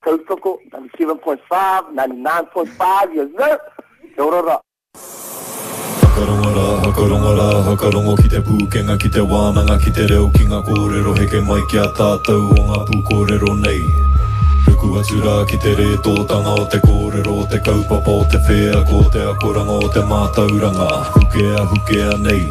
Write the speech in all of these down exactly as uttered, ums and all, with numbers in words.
Tautoko, ninety-seven point five, ninety-nine point five, yes sir! Kia ora rā. Whakarongo rā, whakarongo rā, whakarongo ki te pūkenga, ki te wānanga, ki te reo, ki ngā kōrero heke mai ki a tātou o ngā pūkōrero nei. Ruku atu rā ki te rētōtanga o te kōrero, o te kaupapa, o te wheako, o te akoranga, o te mātauranga, hukea, hukea nei.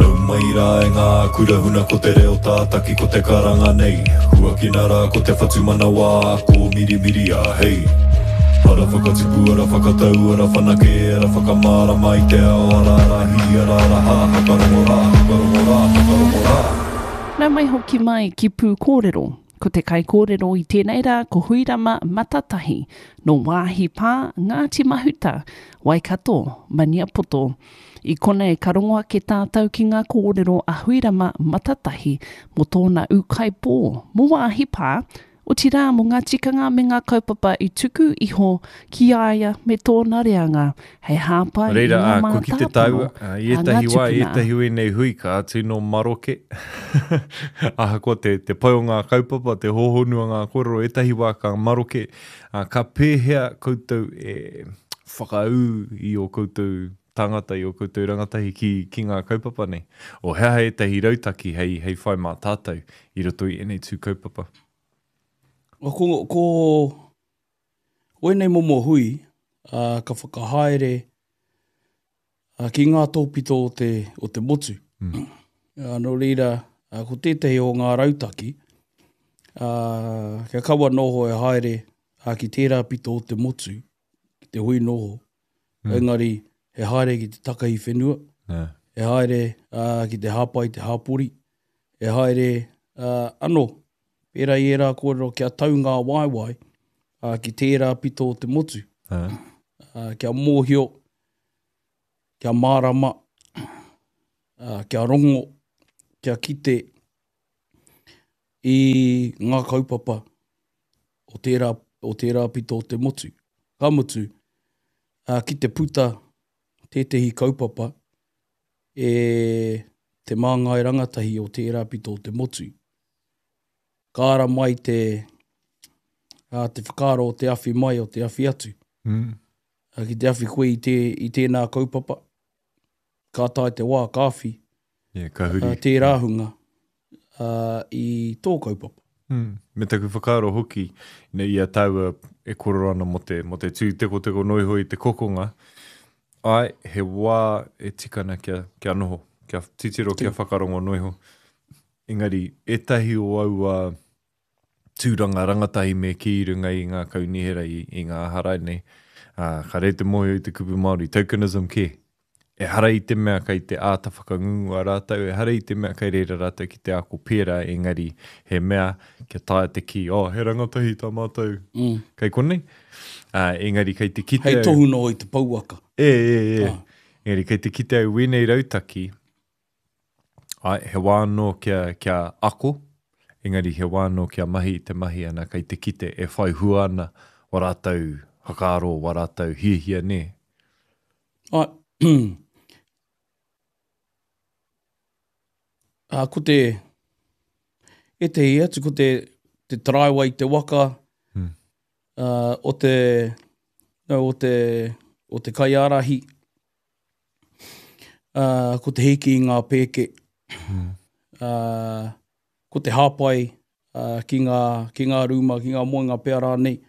Nau mai rā e ngā kura huna ko te reo tātaki ko te karanga nei. Huakina rā ko te whatumanawa, ko mirimiria, hei. Ara whakatipu, ara whakatau, ara whanake, ara whakamārama i te ao, ara ara hi, ara ara ha, whakarongo rā, whakarongo rā, whakarongo rā. Nau mai hoki mai ki Pūkōrero. Ko te kaikōrero i tēnei rā ko Huirama Matatahi, nō Wāhi Pā, Ngāti Mahuta, Waikato, Maniapoto. I konei ka rongo ake tātou ki ngā kōrero a Huirama Matatahi mō tōna ūkaipō, mō Wāhi Pā, otirā mō ngā tikanga me ngā kaupapa i tuku iho ki a ia me tōna reanga, hei hāpai i Reira, ngā ā, ko ki te mātāpono taua, ā, i a ngā ētahi wā, tupuna. ētahi o ēnei hui ka tino maroke. Ahakoa te, te pai o ngā kaupapa, te hōhonu o ngā kōrero, ētahi wā ka maroke. Ā, ka pēhea koutou e whakaū i ō koutou tāngata, i ō koutou rangatahi ki, ki ngā kaupapa nei? O he aha ētahi rautaki hei, hei whai mā tātou i roto i ēnei tū kaupapa? Ko, ko, ko ēnei momo hui, ā, ka whakahaere, ā, ki ngā tōpito o te, o te motu. Mm. Ā, nō reira, ā, ko tētahi o ngā rautaki, ā, kia kaua noho e haere, ā, ki tērā pito o te motu, ki te hui noho. Mm. Engari, he haere ki te takahi whenua, Yeah. he haere, ā, ki te hāpai te hāpori, he haere, ā, anō, pērā i ērā kōrero kia tau ngā waewae, ā, ki tērā pito o te motu. Ah. Ā, kia mōhio, kia mārama, ā, kia rongo, kia kite i ngā kaupapa o tērā, o tērā pito o te motu. Ka mutu, ā, ki te puta tētehi kaupapa e te māngai rangatahi o tērā pito o te motu. Ka ara mai te, ā, te whakaaro o te awhi mai o te awhi atu. Mm. Ā, ki te awhi koe i, te, i tēnā kaupapa, ka tae te wā, ka awhi, Yeah, ka huri. ā, tērā hunga, ā, i tō kaupapa. Mm. Me taku whakaaro hoki, nei i a tāua e kōrero ana mō te, mō te tūtekoteko noa iho i te kokonga, ai, he wā e tika ana kia, kia noho, kia titiro, kia whakarongo noa iho. Engari, ētahi o aua tūranga rangatahi me kī i runga i ngā kaunihera i, i ngā harai nei, ā, ka rei te mōhio i te kupu Māori, tokenism kē. Ehara i te mea kei te āta whakangungua rātou, ehara i te mea kei reira rātou ki te ako pērā, engari he mea kia taea te kī, oh, he rangatahi tā mātou Mm. kei konei. Ā, engari kei te kite Hei au- tohu noa i te pouaka. E, e, e. Ah. Engari kei te kite au wēnei rautaki, ai, he wā anō kia, kia ako, engari he wā anō kia mahi i te mahi ana kei te kite e whai hua ana wa rātou whakaaro, wa rātou hiahia nē. Ai, ā, ko te, ētehi atu, ko te, te taraiwa i te waka, Hmm. ā, o te, no, o te, o te kaiārahi, ā, ko te hiki i ngā pēke, Hmm. ā, ko te hāpai, ā, ki ngā, ki ngā rūma, ki ngā moenga pea rānei.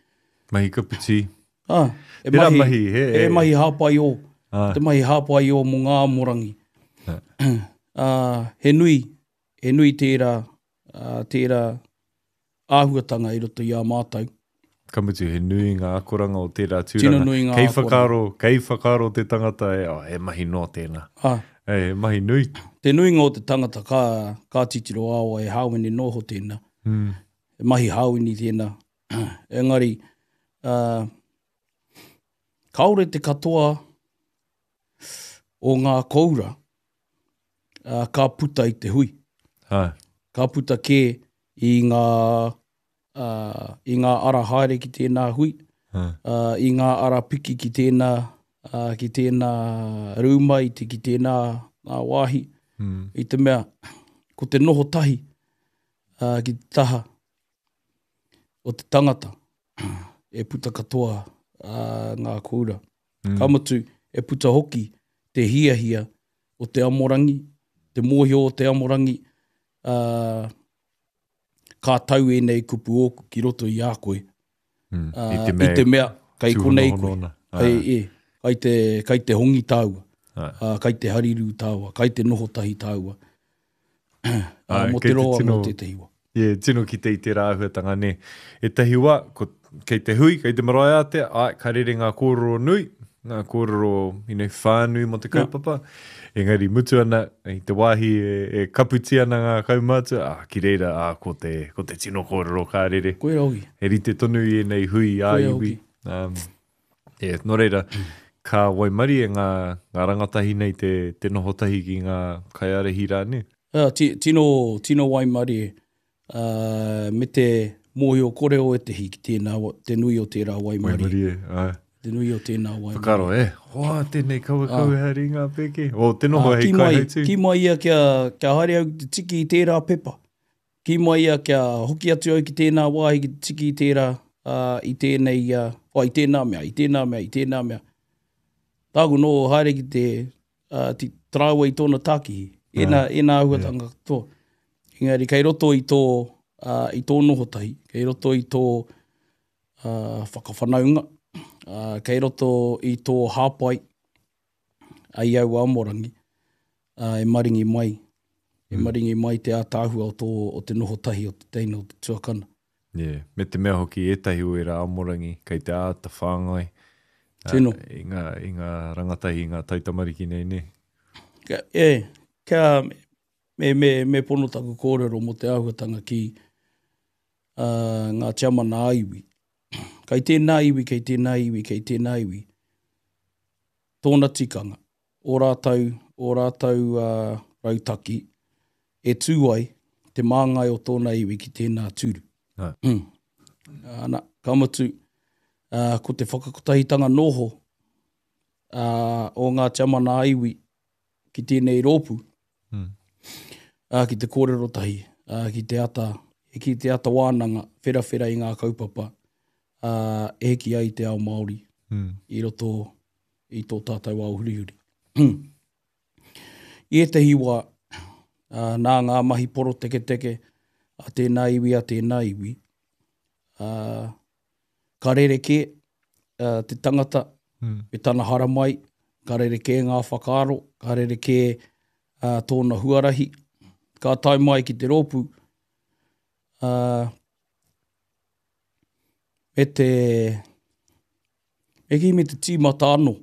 Mahi kaputi. Ā, e Tērā mahi, mahi, he, e mahi hāpai o, Ā. te mahi hāpai o mō ngā amorangi. Ā. Ā, he nui, he nui tērā, ā, tērā āhuatanga i roto i a mātou. Ka mutu, he nui ngā akoranga o tērā tūranga. Tino nui ngā Kei akoranga. whakaaro, kei whakaaro te tangata e, oh, he mahi noa tēnā. Ā. E, he mahi nui. Te nuinga o te tangata ka, ka titiro ao e hāwini noho tēnā. Mm. He mahi hāwini tēnā. Engari, ā, kāore te katoa o ngā koura, ā, ka puta i te hui. Ha. Ka puta kē i ngā, ā, i ngā ara haere ki tēnā hui, Ha. ā, i ngā ara piki ki tēnā, ā, ki tēnā rūma, i te, ki tēnā, ā, wāhi. Mm. I te mea, ko te noho tahi, ā, ki te taha o te tangata, e puta katoa uh, ngā kōura. Mm. Ka mutu, e puta hoki te hiahia o te amorangi, te mōhio o te amorangi, uh, ka tau ēnei kupu ōku ki roto i a koe. Mm. Uh, I te mea, i te mea kei konei koe. tūhonohono ana. Kei, e, kai te, kai te hongi tāua, Ai. uh, kai te hariru tāua, kai te noho tahi tāua. Uh, Ai, mō kei te te roa tino- mō tētahi wā. Yeah, tino ki te i tērā āhuatanga, nē. E tahi wā, ko, kei te hui, kei te marae ātea, ai, ka rere ngā kōrero nui, ngā kōrero you know, whānui mō te kaupapa. Engari mutu ana, i te wāhi e, e kaputi ana ngā kaumātua, ah, ki reira, ah, ko te, ko te tino kōrero ka rere. Koe hoki. He rite tonu i ēnei hui ā Koia iwi. Um, yeah, nō reira, ka waimarie ngā, ngā rangatahi nei te, te noho tahi ki ngā kaiārahi rā, nē? Uh, ti, tino, tino waimarie, uh, me te mōhio kore o ētehi ki tēnā, wa- te nui o tērā waimarie. Waimarie, ai. Te nui o tēnā waimarie. Whakaaro, e, hoa, tēnei kaua kaua haere i ngā pēke. O, te noho Ah, hei ki mai, kaihautū. ki mai ia kia, kia haere au ki te tiki i tērā pepa. Ki mai ia kia hoki atu au ki tēnā wāhi ki te tiki i tērā, uh, i tēnei, uh, oh, i tēnā mea, i tēnā mea, i tēnā mea. Tāku no haere ki te, uh, te taraiwa i tōna tākihi. Ēnā, ēnā āhuatanga katoa. Engari, kei roto i tō, uh, i tō noho tahi, kei roto i tō uh, whakawhanaunga, uh, kei roto i tō hāpai ai au amorangi, uh, e maringi mai, e maringi mai te ātaahua o, tō, o te noho tahi o te teina o te tuakana. Yeah. Me te mea hoki ētahi o ērā amorangi, kei te āta whāngai. ah, Tino. I ngā, i ngā rangatahi, i ngā taitamariki nei, nē. Kia, e, kia me, me, me pono taku kōrero mō te āhuatanga ki uh, ngā tiamana a iwi. Kei tēnā iwi, kei tēnā iwi, kei tēnā iwi. Tōna tikanga, o rātou, o rātou uh, rautaki, e tū ai te māngai o tōna iwi ki tēnā tūru. Ai. Mm. Ana, ka mutu, uh, ko te whakakotahitanga noho uh, o ngā tiamana a iwi ki tēnei rōpū, Mm. uh, ki te kōrero tahi, uh, ki te ata, ki te ata wānanga, wherawhera i ngā kaupapa, uh, e hiki ai te ao Māori Mm. i roto i tō tātou ao hurihuri. I ētahi wā, uh, nā ngā mahi poroteketeke a tēnā iwi, a tēnā iwi, uh, ka rerekē uh, te tangata Mm. me tana haramai, ka rerekē ngā whakaaro, ka rerekē uh, tōna huarahi, ka tae mai ki te rōpū, uh, me te, me ki me te tīmata anō,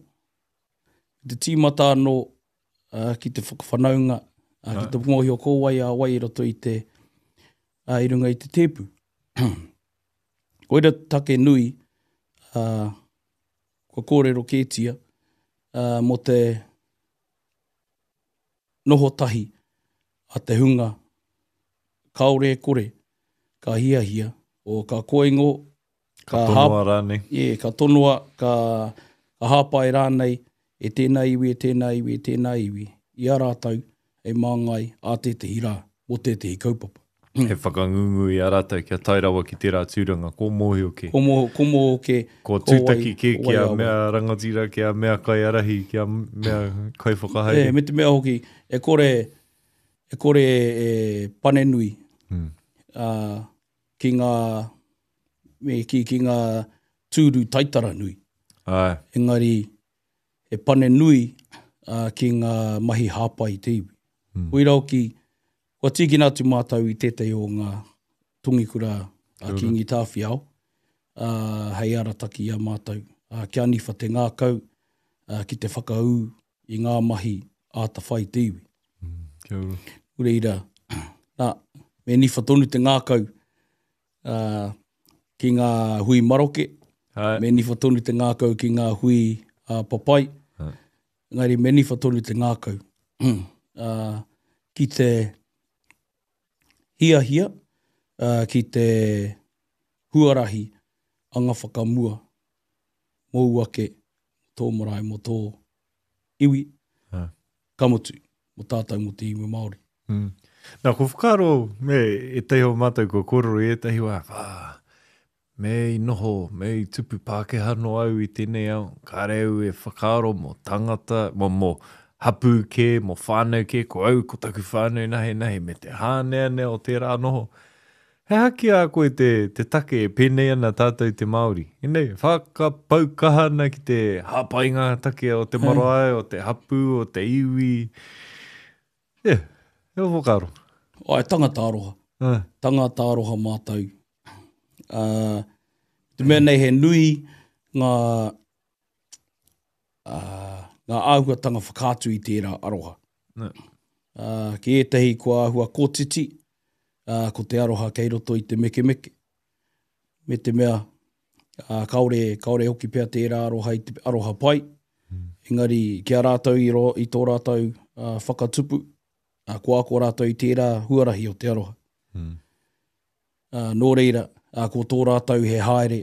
te tīmata anō uh, ki te whakawhanaunga, uh, ki te mōhio ko wai a wai i roto i te, uh, i runga i te tēpu. Koira take nui, uh, kua kōrero kētia, uh, mō te noho tahi a te hunga kāore e kore, ka hiahia, o ka koingo, Ka ka, tonoa rānei. e, ka tonoa, ka, ka hāpai rānei e tēnā iwi, e tēnā iwi, e tēnā iwi, i a rātou e māngai a tētehi rā, mō tētehi kaupapa. He whakangungu i a rātou kia tae rawa ki tērā tūranga, ko mōhio ke. Ko mō, ko mō ke, Ko ko wai- tūtaki kē ko wai kia a wai. mea rangatira, kia mea kaiārahi, kia mea kaiwhakahaere. E, me te mea hoki, e kore, e kore e pane nui Mm. uh, ki ngā, me ki, ki ngā tūru taitara nui. Ai. Engari, e pane nui uh, ki ngā mahi hāpai i te iwi. Mm. Koira hoki, kua tīkina atu mātou i tētahi o ngā tongikura a Kingi Tāwhiao, uh, hei arataki i a mātou, uh, kia niwha te ngākau uh, ki te whakaū i ngā mahi āta whai te iwi. Kia ora. Reira, nā, me niwha tonu te ngākau uh, ki ngā hui maroke, Ai. me niwha tonu te ngākau ki ngā hui uh, papai, Ai. engari me niwha tonu te ngākau uh, ki te hiahia, uh, ki te huarahi anga whakamua mōu ake tō marae, mō tō iwi, Ai. ka mutu, mō tātou mō te iwi Māori. Mm. Nā, ko whakaaro, me, e teiho mātou ko kōrero i ētahi wā, wā, me i noho, me i tupu Pākehā noa au i tēnei ao, kāre au e whakaaro mō tangata, mō, mō hapū kē, mō whānau kē, ko au, ko taku whānau nahe nahe, me te hāneanea o tērā noho. He aha ki a koe te, te take e pēnei ana tātou te Māori? Ēnei, whakapau kaha ana ki te hāpai ngā take o te marae, o te hapū, o te iwi. Yeah, he whakaaro. Ai, tangata aroha. Ah. Tangata aroha mātou. Uh, te mea nei he nui ngā, uh, ngā āhuatanga whakaatu i tērā aroha. Ne. Uh, ki ētahi kua āhua kōtiti, uh, ko te aroha kei roto i te mekemeke. Me te mea, uh, kaore, kaore hoki pea tērā aroha i te aroha pai. Mm. Engari, ki a rātou i, ro, i tō rātou uh, whakatupu, uh, kua ako rātou i tērā huarahi o te aroha. Mm. Uh, nō reira, uh, ko tō rātou he haere,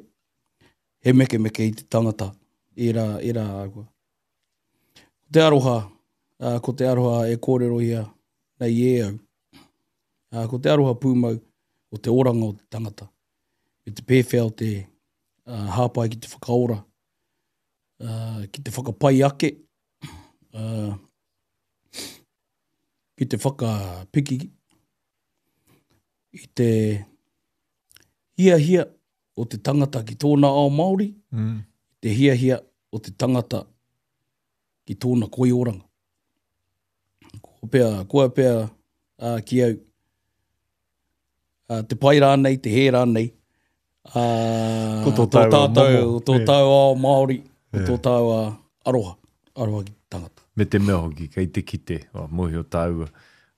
he mekemeke i te tangata, ērā, ērā āhua. Ko te aroha, uh, ko te aroha e kōrero ia nei e au. Uh, ko te aroha pūmau o te oranga o te tangata, me te pēwhea o te uh, hāpai ki te whakaora, uh, ki te whakapai ake, uh, ki te whakapiki i te hiahia o te tangata ki tōna ao Māori, Mm. te hiahia o te tangata ki tōna koioranga. Ko pea, koa pea uh, ki au, uh, te pai rānei, te hē rānei, uh, Ko tō tāua tātou, momo, tō yeah. tāua ao Māori, ko Yeah. tō tāua aroha, aroha ki te tangata. Me te mea hoki, kei te kite, oh, mōhio tāua,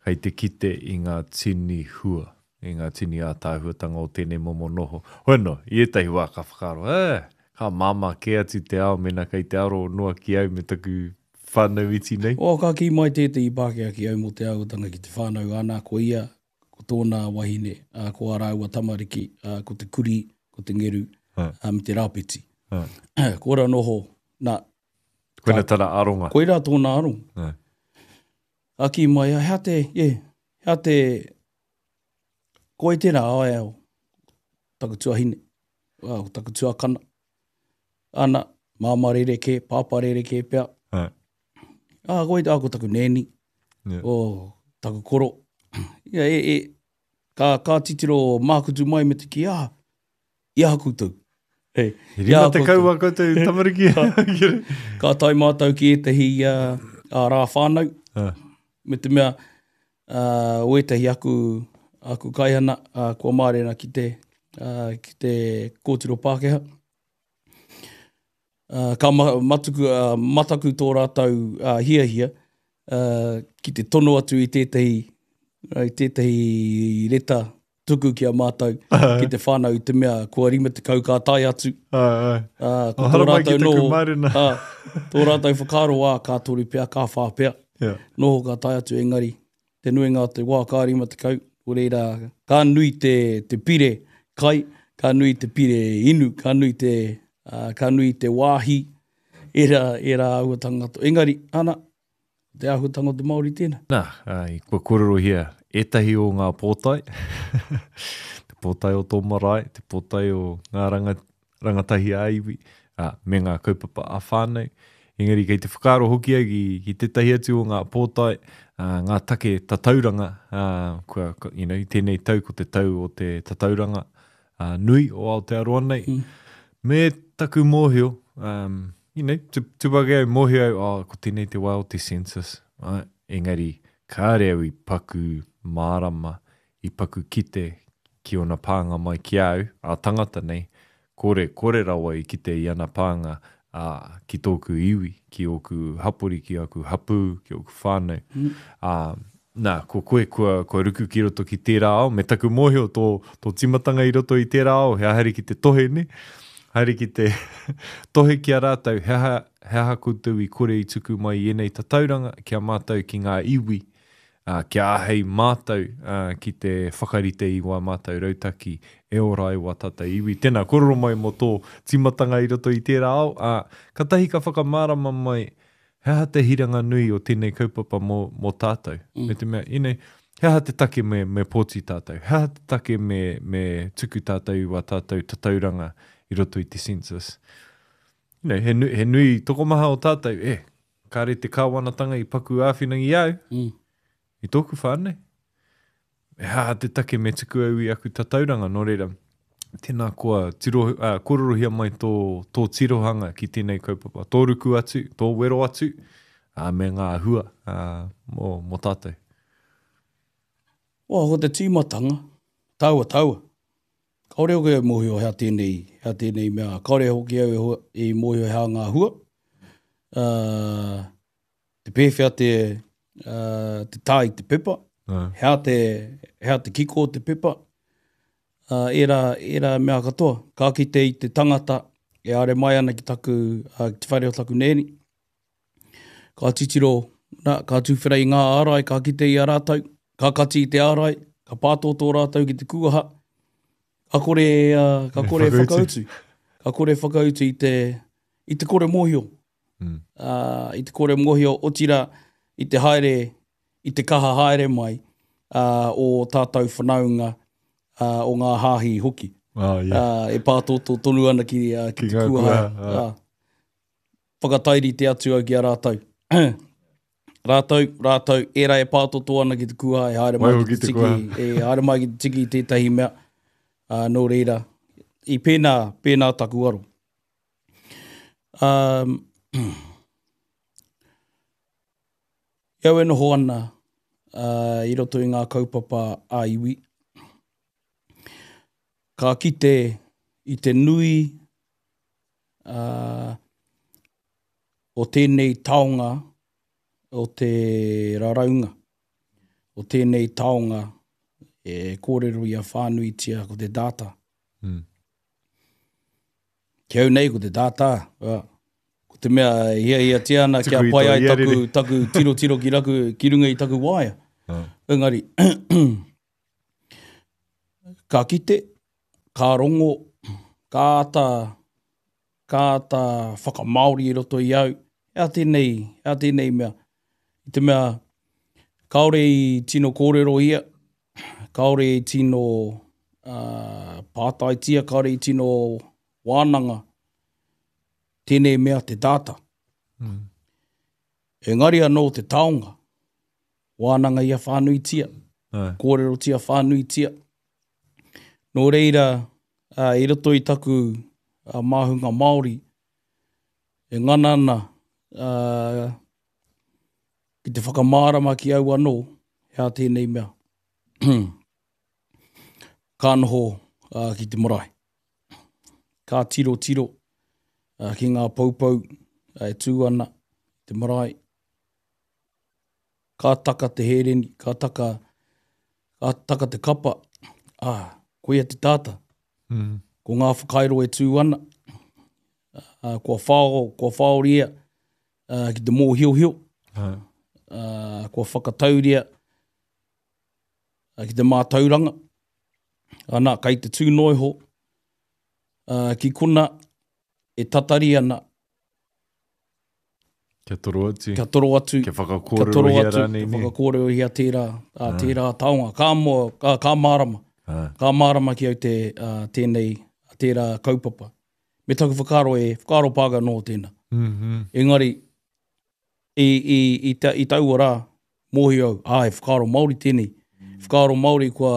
kei te kite i ngā tini hua, i ngā tini ātāhuatanga o tēnei momo noho. Hoi no, i ētahi wā ka whakaaro, eh, ka māmā kē atu te ao mena kei te aro noa ki au me taku whānau iti nei. O, ka kī mai tētehi Pākehā ki au mō te āhuatanga ki te whānau ana, ko ia, ko tōna wahine, ā, ko ā rāua tamariki, ā, ko te kuri, ko te ngeru, Ha. ā, me te rāpeti. Ha. Ko ora noho, nā, Koina tana aronga. koira tōna aronga. Ha. A kī mai, hea te, ye, hea te, koe tērā, ai au, taku tuahine, au, taku tuakana. Ana, māmā rerekē, pāpā rerekē pea. Ha. Ah, koe tā, ko taku nēni, Yeah. o taku koro. Ia, e, e, ka, ka titiro mākutu mai me te ki, ah, i aha koutou. Hey, He i aha rima tekau koutou. wā koutou tamariki. Ka tae mātou ki ētahi uh, a rā whānau, Ha. me te mea, uh, o ētahi aku, aku kaihana, uh, kua mārena ki te, uh, ki te kōtiro Pākehā. Uh, ka ma matuku, uh, mataku tō rātou uh, hiahia uh, ki te tono atu i tētahi, i tētahi reta tuku ki a mātou, ki te whānau i te mea kua rima tekau ka tae atu. Ai, ai. Uh, ko O, tō haramai ki rātou taku noho, mārena. uh, tō rātou whakaaro ā, ka toru pea, ka whā pea. Yeah. Noho ka tae atu engari, te nuinga o te wā ka rima tekau, o reira, ka nui te, te pire kai, ka nui te pire inu, ka nui te, uh, ka nui te wāhi, era, era āhuatanga katoa. Engari, ana, te āhuatanga o te Māori tēnā. Nā, ai, kua kōrerohia ētahi o ngā pōtae, te pōtae o tō marae, te pōtae o ngā ranga, rangatahi ā-iwi, ā, me ngā kaupapa ā-whānau. Engari kei te whakaaro hoki au ki, ki tētahi atu o ngā pōtae, ā, ngā take tatauranga, ā, kua, kua, you know, tēnei tau ko te tau o te tatauranga ā, nui o Aotearoa nei. Mm. Me taku mōhio, um, you know, tu, tupake au mōhio au, oh, ko tēnei te wā o te census. Ai, engari, kāre au i paku mārama, i paku kite ki ona pānga mai ki au, a tangata nei, kore, kore rawa i kite i ana pānga ā, ki tōku iwi, ki ōku hapori, ki aku hapū, ki ōku whānau. Mm. Ā, nā, ko koe kua, kua ruku ki roto ki tērā ao, me taku mōhio tō, tō tīmatanga i roto i tērā ao, he haere ki te tohe, ne? Haere ki te tohe ki a rātou, he aha, he aha koutou i kore i tuku mai i ēnei tatauranga ki a mātou ki ngā iwi, ā, kia āhei mātou ā, ki te whakarite i wā mātou rautaki e ora ai wā tātou iwi. Tēnā, kōrero mai mō tō tīmatanga i roto i tērā ao, ā, katahi ka whakamārama mai he aha te hiranga nui o tēnei kaupapa mō, mō tātou. Mm. Me te mea, you know, He aha te take me, me pōti tātou? He aha te take me, me tuku tātou i wā tātou tatauranga i roto i te census? You know, he, nu, he nui tokomaha o tātou, e, kāre te kāwanatanga i paku āwhina i au, Mm. i tōku whānau. He aha te take me tuku au i aku tatauranga, nō reira, tēnā koa, tiro, uh, kōrerohia mai tō, tō tirohanga ki tēnei kaupapa. Tō ruku atu, tō wero atu, uh, me ngā hua uh, mō, mō tātou. Wa, ko te tīmatanga, taua, taua. Kaore hoki au mōhio hea tēnei, hea tēnei mea. Kaore hoki au e hua- i mōhio hea ngā hua. Uh, te pēwhea te, uh, te tā i te pepa. Uh. Hea te, hea te kiko o te pepa. Uh, era, era mea katoa. Ka kite i te tangata e are mai ana ki taku, uh, ki te whare o taku nēni. Ka titiro, na, ka tūwhera i ngā ārai, ka kite i a rātou, ka kati i te ārai, ka pātōtō rātou ki te kuaha. Ka kore, uh, ka kore Whakautu. whakautu. Ka kore whakautu i te, i te kore mōhio. Mm. Uh, i te kore mōhio, otira i te haere, i te kaha haere mai uh, o tātou whanaunga uh, o ngā hāhi hoki. Oh, yeah. Uh, e pātōtō tonu ana ki, uh, ki, Ki te ngā kuaha. kuaha, Uh, whakatairi te atu au ki a rātou. Rātou, rātou, era e pātōtō ana ki te kuaha, e haere mai Waiho ki te ki te tiki, kuaha. e haere mai ki te tiki i tētahi mea. Uh, nō reira, i pēnā, pēnā taku aro. Um, i au e noho ana uh, i roto i ngā kaupapa a iwi, ka kite i te nui uh, o tēnei taonga o te raraunga, o tēnei taonga e kōrero ia whānuitia ko te data. Mm. Ki au nei ko te data, uh, ko te mea e hiahiatia ana kia Tuku i pai tō ai taku, iarere. taku tiro tiro ki, raku, ki runga i taku waea. Ah. Engari, ka kite, ka rongo, ka ata, ka ata whakamāori i roto i au, ea tēnei, ea tēnei mea. I te mea, kāore i tino kōrero ia, kāore i tino uh, pātaitia, kāore i tino wānanga, tēnei mea te data. Mm. Engari anō te taonga, wānanga ia whānuitia, Ai. kōrerotia whānuitia. Nō reira, uh, i roto i taku uh, māhunga Māori, e ngana ana uh, ki te whakamārama ki au anō, hea tēnei mea. Ka noho uh, ki te marae. Ka tiro tiro uh, ki ngā poupou uh, e tū ana te marae. Ka taka te hereni, ka taka, ka taka te kapa, ah, koia te tāta. Mm. Ko ngā whakairo e tū ana, uh, kua whao, kua whaoria uh, ki te mōhiohio, Ai. uh, kua whakatauria uh, ki te mātauranga. Ana, kai te tū noiho, uh, ki kona e tatari ana, Kia toro atu. kia toro atu, Kia kia toro whakakōrerohia atu, rānei, kia nē. whakakōrerohia tērā, uh, tērā taonga. Ka, mo, ka, ka mārama. Ai. Ka mārama ki au te, uh, tēnei, tērā kaupapa. Me taku whakaaro e, whakaaro pāka nō tēnā. Mm-hmm. Engari, i, i, i, ta, i taua rā, mōhio au, ah, e whakaaro Māori tēnei. Whakaaro Māori kua,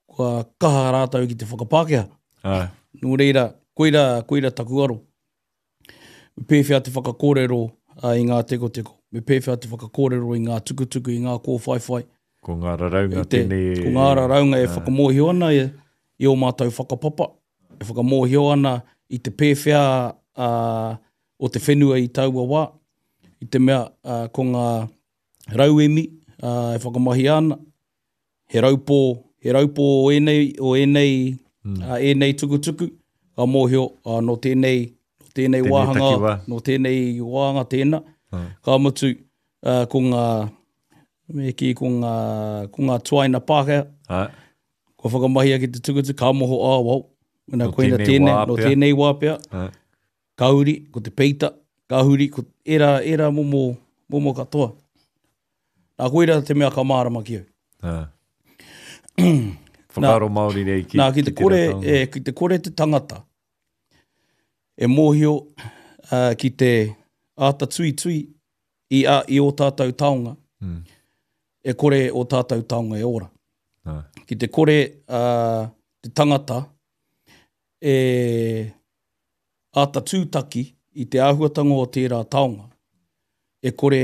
kua kaha rātou ki te whakapākehā. Ai. Nō reira, koira, koira taku aro. Me pēwhea te whakakōrero uh, i ngā tekoteko. Me pēwhea te whakakōrero i ngā tukutuku, i ngā kōwhaiwhai. Ko ngā raraunga I te, tēnei. ko ngā raraunga e whakamōhio ana i, i ō mātou whakapapa, e whakamōhio ana i te pēwhea uh, o te whenua i taua wā, i te mea uh, ko ngā rauemi uh, e whakamahia ana, he raupō, he raupō o ēnei, o ēnei, mm. uh, ēnei tukutuku, ka mōhio uh, nō tēnei, nō tēnei Tēnei wāhanga, takiwā. nō tēnei wāhanga tēnā, Ai. ka mutu uh, ko ngā, me kī, ko ngā, ko ngā tuaina Pākehā, Ai. kua whakamahia ki te tukutuku, ka moho, ah, wow, Nō nā, koina tēnei tēnei, wā nō pea. tēnei wā pea, Ai. ka huri, ko te peita, ka huri, ko era, era momo, momo katoa. Nā, koira te mea ka mārama ki au. Ah. Whakaaro Māori nei ki, Nā, ki te ki kore, tērā taonga. e, ki te kore te tangata e mōhio uh, ki te āta tuitui i, a, i o tātou taonga, Mm. e kore o tātou taonga e ora. Ah. Ki te kore uh, te tangata e āta tūtaki i te āhuatanga o tērā taonga, e kore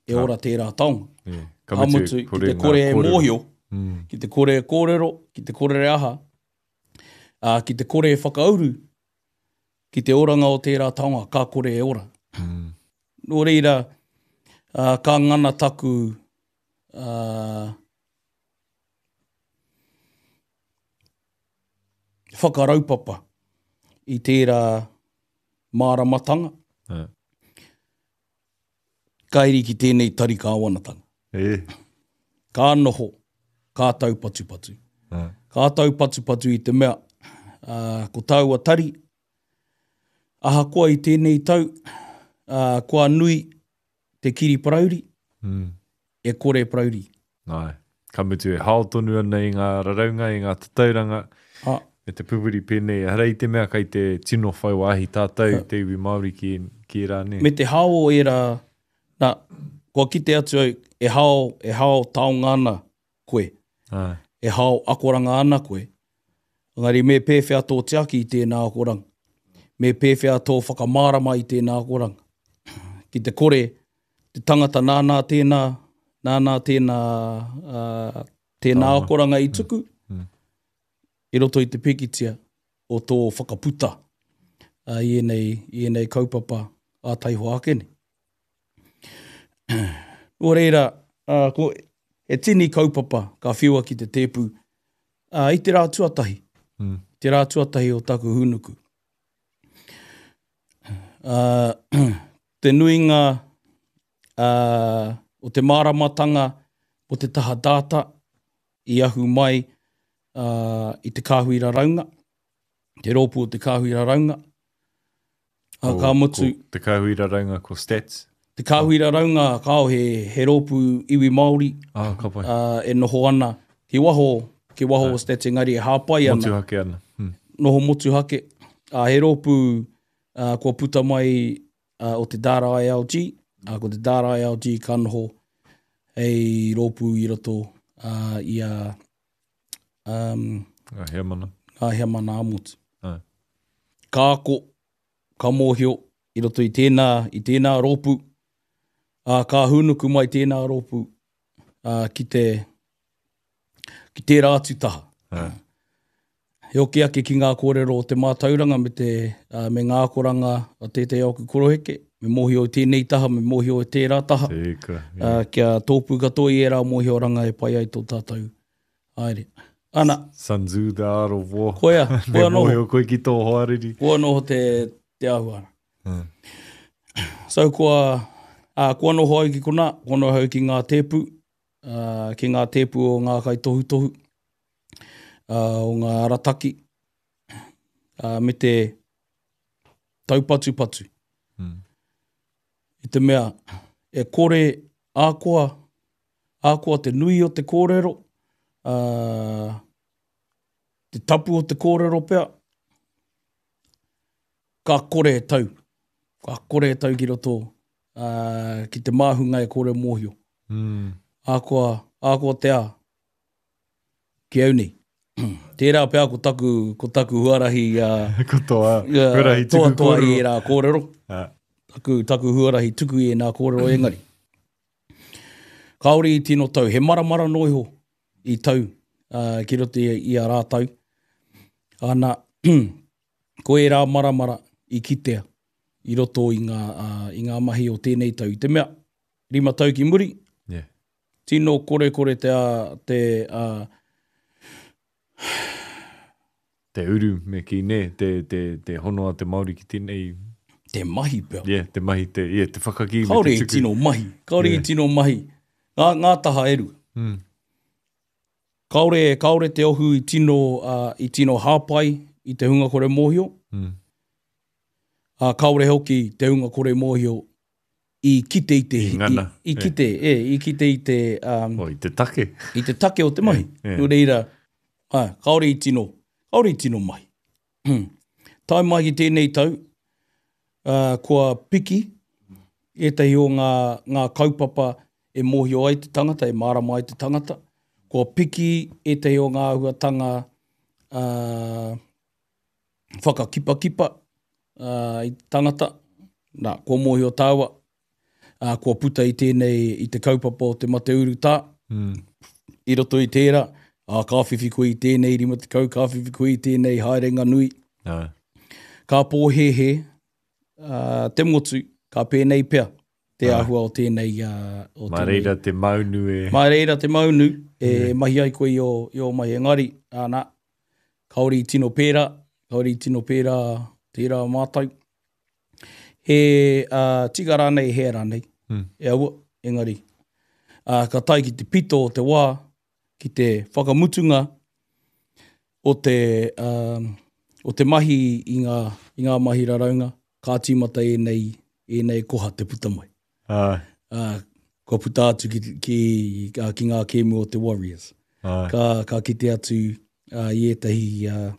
e ora tērā taonga. Yeah. Ka mutu, ki te kore e mōhio, Mm. ki te kore e kōrero, ki te kore e aha, ā, ki te kore e whakauru, ki te oranga o tērā taonga, ka kore e ora. Mm. Nō reira, ā, ka ngana taku ā, whakaraupapa i tērā māramatanga, Ah. ka iri ki tēnei tari kāwanatanga. E. Ka noho, ka taupatupatu. Ah. Ka taupatupatu i te mea, uh, ko taua tari, ahakoa i tēnei tau, uh, kua nui te kiri parauri, Mm. e kore parauri. Ai. Ka mutu e hao tonu ana i ngā raraunga, i ngā tatauranga, Ah, me te pupuri pēnei. Ehara i te mea kai te tino whai wāhi tātou, te iwi Māori ki, ki rā, ne? me te hao o ērā, nā, kua kite atu au, e hao, e hao taonga ana koe, Ai. e hao akoranga ana koe. Engari me pēwhea tō tiaki i tēnā akoranga. Me pēwhea tō whakamārama i tēnā akoranga. Ki te kore, te tangata nānā tēnā, nānā tēnā, uh, tēnā Taonga. akoranga i tuku, Mm. i roto i te pikitia o tō whakaputa uh, i ēnei, i ēnei kaupapa a taihoa ake nei. Nō reira, uh, ko, e tini kaupapa ka whiua ki te tēpu uh, i te rā tuatahi, Mm. te rā tuatahi o taku hūnuku. Uh, te nuinga uh, o te māramatanga o te taha data i ahu mai uh, i te kāhui raraunga, te rōpū o te kāhui raraunga. Uh, ka mutu, Ko te kāhui raraunga ko stats. te kāhui raraunga kao he, he rōpū iwi Māori Ah, ka pai. uh, e noho ana ki waho, ki waho o stats engari e hāpai ana. Motuhake ana. Mm. Noho motuhake. Uh, he rōpū uh, kua puta mai uh, o te Data I L G, uh, ko te Data I L G ka noho hei rōpū i roto uh, i a um, Ngā heamana. ngā heamana ā-motu. Ah. Ka ako, ka mōhio i roto i tēnā, i tēnā rōpū, uh, ka hūnuku mai tēnā rōpū uh, ki te ki tērā atu taha. Ah. He oki ake ki ngā kōrero o te mātauranga me, te, uh, me ngā akoranga o tētehi o aku koroheke, me mōhio i tēnei taha, me mōhio i tērā taha, Tēka. uh, kia tōpū katoa i ērā mōhioranga e pai ai tō tātou haere. Ana, Sun Tzu, The Art of War. koia, Me koia noho, mōhio koe ki tō hoariri. koia noho te, te āhua. Mm. So kua, uh, kua noho au ki konā, kua noho au ki ngā tēpu, uh, ki ngā tēpu o ngā kaitohutohu, uh, o ngā arataki, uh, me te taupatupatu. Mm. I te mea, e kore ākoa, ākoa te nui o te kōrero, uh, te tapu o te kōrero pea, ka kore e tau. Ka kore e tau ki roto, uh, ki te māhunga e kore mōhio. Mm. Ākoa, ākoa te a, ki au nei. Tērā pea ko taku, ko taku huarahi, uh, Ko toa, uh, huarahi tuku toa toa i kōrero. ērā kōrero. Ah. Taku, taku huarahi tuku i ēnā kōrero engari. Kāore i tino tau, he maramara noa iho i tau uh, ki roto i, i a rātou. Ana, ko ērā maramara i kitea i roto i ngā, uh, i ngā mahi o tēnei tau. I te mea, rima tau ki muri, Yeah. tino kore kore te, uh, te uh, Te uru me ki ne, te, te, te hono a te Māori ki tēnei. te mahi pea. Yeah, te mahi, te, yeah, te whakakī me Kāore te i tuku. tino mahi. Kāore Yeah. i tino mahi. Ngā, ngā taha e rua. Mm. Kāore, kāore te ohu i tino, uh, i tino hāpai i te hunga kore mōhio. Mm. Uh, kāore hoki te hunga kore mōhio i kite i te... I ngana. I, i kite, e, i kite i te... Um, oh, i te take. I te take o te mahi. E, e. Nō reira, ā, kāore i tino, kāore i tino mahi. Tae mai ki tēnei tau, uh, kua piki ētahi o ngā, ngā kaupapa e mōhio ai te tangata, e mārama ai te tangata. Kua piki ētahi o ngā āhuatanga uh, whakakipakipa uh, i te tangata. Nā, kua mōhio tāua, uh, kua puta i tēnei, i te kaupapa o te mate urutā. Mm. I roto i tērā, ā, ka whiwhi koe i tēnei rima tekau, ka whiwhi koe i tēnei haerenga nui. Ā. Ka pōhēhē, uh, te motu, ka pēnei pea te Ā. āhua o tēnei... Uh, o Mā tēnei. reira te maunu e... Mā reira te maunu e mahi ai koe i o, i o mahi engari, āna, kāore i tino pērā, kāore i tino pērā tērā mātou. He uh, tika rānei, he rānei, Mm. e aua, engari. Uh, ka tae ki te pito o te wā, ki te whakamutunga o te, um, o te mahi i ngā, i ngā mahi raraunga, ka tīmata ēnei, ēnei koha te puta mai. Ā. Uh, kua puta atu ki, ki, ki, ki ngā kēmu o te Warriors. Ā. Ka, ka kite atu uh, i ētahi, uh,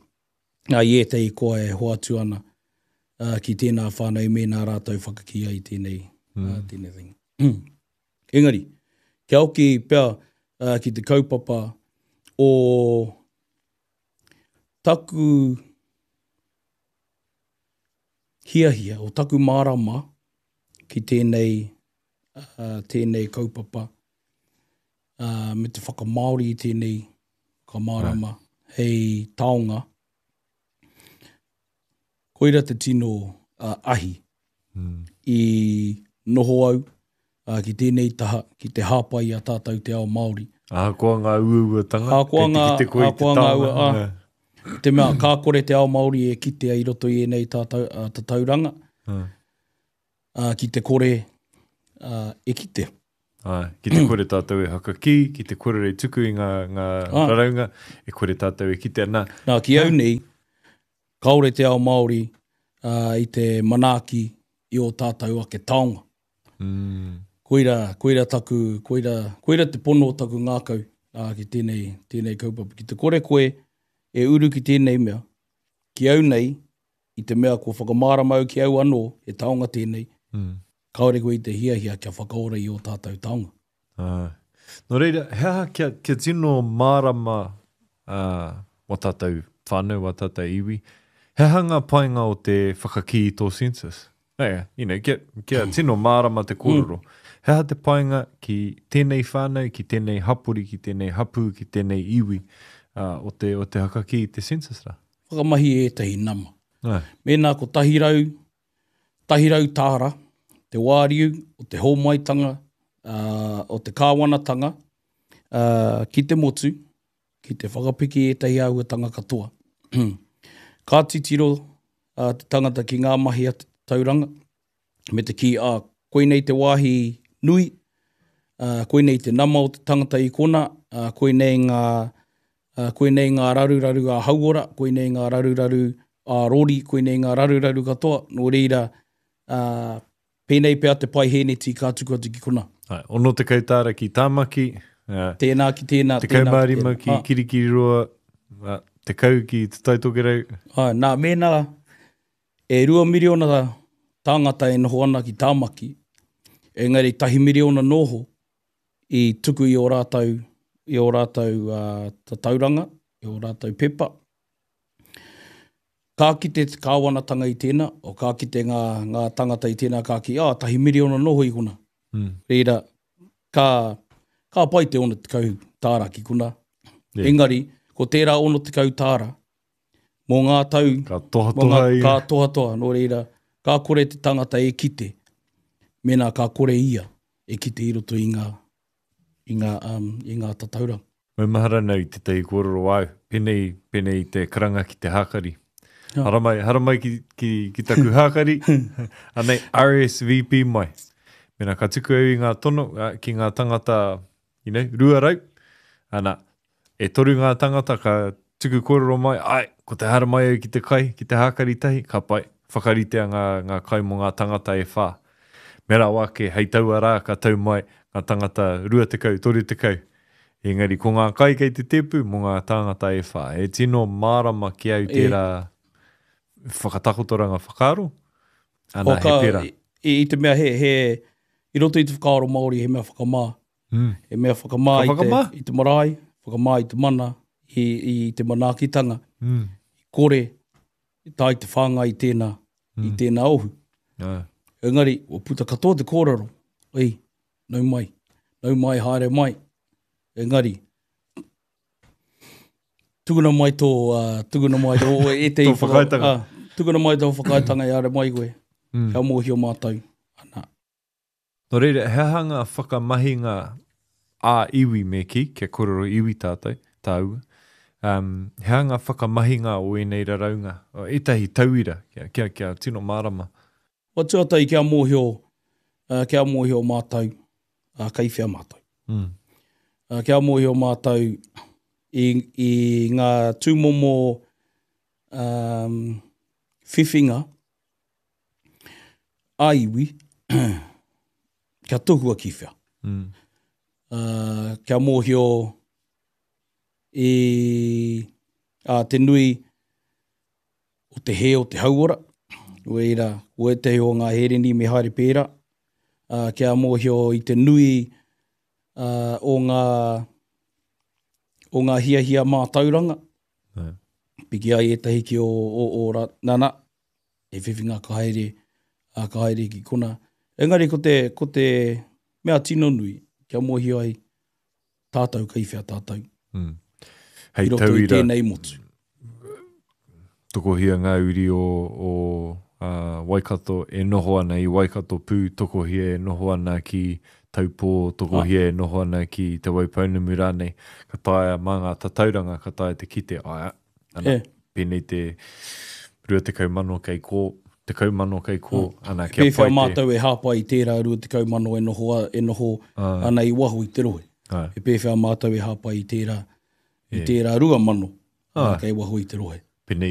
i ētahi koa e hoatu ana uh, ki tēnā whānau mēnā rātou whakakī ai tēnei, mm. uh, tēnei thing. Engari, kia hoki pea uh, ki te kaupapa o taku hiahia, o taku mārama ki tēnei, uh, tēnei kaupapa uh, me te whakamāori i tēnei whakamārama hei taonga. Koira te tino uh, ahi Mm. i noho au uh, ki tēnei taha, ki te hāpai i a tātou te ao Māori. Ahakoa ngā uauatanga, Ahakoa kei te ngā- kite koe i te ahakoa ngā taonga. ua, ā. Te mea, ka kore te ao Māori e kitea i roto i ēnei tātou, uh, tatauranga, Ā. uh, ki te kore uh, e kitea. Ā, ki te kore tātou e hakakī, ki te kore e tuku i ngā, ngā Ā. raraunga, e kore tātou e kitea. Nā, Nā, ki au nei, kāore te ao Māori uh, i te manaaki i o tātou ake taonga. mm, Koira, koira taku, koira, koira te pono o taku ngākau uh, ki tēnei, tēnei kaupapa. Ki te kore koe e uru ki tēnei mea, ki au nei, i te mea kua whakamārama au ki au anō, e taonga tēnei, mm. kāore koe i te hiahia kia whakaora i o tātou taonga. Ā. Nō reira, he aha kia, kia tino mārama uh, wa tātou whānau, wa tātou iwi, he aha ngā painga o te whakakī i tō census? Yeah, you know, kia, kia tino mārama te kōrero. He aha te painga ki tēnei whānau, ki tēnei hapori, ki tēnei hapū, ki tēnei iwi uh, o te, o te hakakī i te census rā? Whakamahi ētahi nama. Ā. Mēnā ko tahi rau, tahi rau tāra, te wāriu o te hōmaitanga, uh, o te kāwanatanga, uh, ki te motu, ki te whakapiki ētahi āhuatanga katoa. Ka titiro uh, te tangata ki ngā mahi a te tauranga, me te kī, uh, koinei te wāhi nui, uh, koinei te nama o te tangata i kona, uh, koinei ngā, uh, koinei ngā raruraru a hauora, koinei ngā raruraru a rori, koinei ngā raruraru katoa, nō reira, uh, pēnei pea te pai hēneti ka tuku atu ki kona. Ai, ono tekau tāra ki Tāmaki, uh, Tēnā ki tēnā, tekau tēnā mā ki rima tēnā. ki Ah. Kirikiriroa, uh, tekau ki Te Tai Tokerau. Ah, nā, mēnā e rua miriona tāngata e noho ana ki Tāmaki, engari tahi miriona noho i tuku i o rātou, i o rātou uh, tatauranga, i o rātou pepa. Ka kite te kāwanatanga i tēnā, o ka kite ngā, ngā tangata i tēnā ka ki, ah, tahi miriona noho i kona. Mm. Reira, ka, ka pai te ono tekau tāra ki kona. Yeah. Engari, ko tērā ono tekau tāra, mō ngā tau, Ka mō tohatoha ngā, ia. ka tohatoha, nō reira, ka kore te tangata e kite, mēnā ka kore ia e kite i roto i ngā, i ngā, um, i ngā tatauranga. Maumahara nau i tētahi kōrero au, pēnei, pēnei i te karanga ki te hākari. Ja. Haramai, haramai ki, ki, ki taku hākari, anei R S V P mai. Mēnā ka tuku au i ngā tono ā, ki ngā tangata, you know, rua rau, ana, e toru ngā tangata ka tuku kōrero mai, ai, ko te haramai au ki te kai, ki te hākari tahi, ka pai, whakaritea ngā, ngā kai mō ngā tangata e whā. Me rawa ake, hei taua rā ka tau mai ngā tangata rua tekau, toru tekau. Engari ko ngā kai kei te tēpu mō ngā tāngata e whā. E tino mārama ki au tērā whakatakotoranga whakaaro. Ana, he pērā. I, i te mea he, he, i roto i te whakaaro Māori he mea whakamā. Mm. He mea whakamā, Ka whakamā? I, te, i te marae, whakamā i te mana, i, i te manaakitanga. Mm. Kore, tae te whāngai i tēnā, mm. i tēnā ohu. Ah. Engari, ua puta katoa te kōrero, ei, nau mai, nau mai, haere mai. Engari, tukuna mai tō, uh, tukuna mai tō, ētehi Tō whakaaetanga. Uh, tukuna mai tō whakaaetanga e haere mai koe, mm. kia mōhio mātou. Ana. Nō reira, he aha ngā whakamahinga ā-iwi me kī, kia kōrero iwi tātou, tāua, um, he aha ngā whakamahinga o ēnei raraunga, o ētahi tauira, kia, kia, kia tino mārama. Wa tuatahi kia mōhio, uh, kia mōhio mātou, uh, kei whea mātou. Mm. Uh, kia mōhio mātou i, i ngā tūmomo um, whiwhinga ā-iwi kia tohua ki whea. Mm. Uh, kia mōhio i uh, te nui o te hē o te hauora, Weira, ko ētehi o ngā hereni me haere pērā, uh, kia mōhio i te nui uh, o ngā o ngā hiahia mātauranga. Yeah. Piki ai ētahi ki o, o, o ra, nana, e whiwhinga ka haere, uh, ka haere ki kona. Engari ko te, ko te mea tino nui, kia mōhio ai tātou kei whea tātou. Mm. Hei I roto i tauira, tēnei motu. tokohia ngā uri o, o uh, Waikato e noho ana i Waikato pū, tokohia e noho ana ki Taupō, tokohia e noho ana ki Te Waipounamu rānei, ka taea mā ngā tatauranga, ka taea te kite, aia, ana, E. pēnei te rua tekau mano kei kō, tekau mano kei kō, ana, kia Pēwhea pai te... mātou e hāpai i tērā rua tekau mano e noho, a, e noho ana i waho i te rohe. Ai. E pēwhea mātou e hāpai i tērā, i E. tērā rua mano Ai. kei waho i te rohe. Pēnei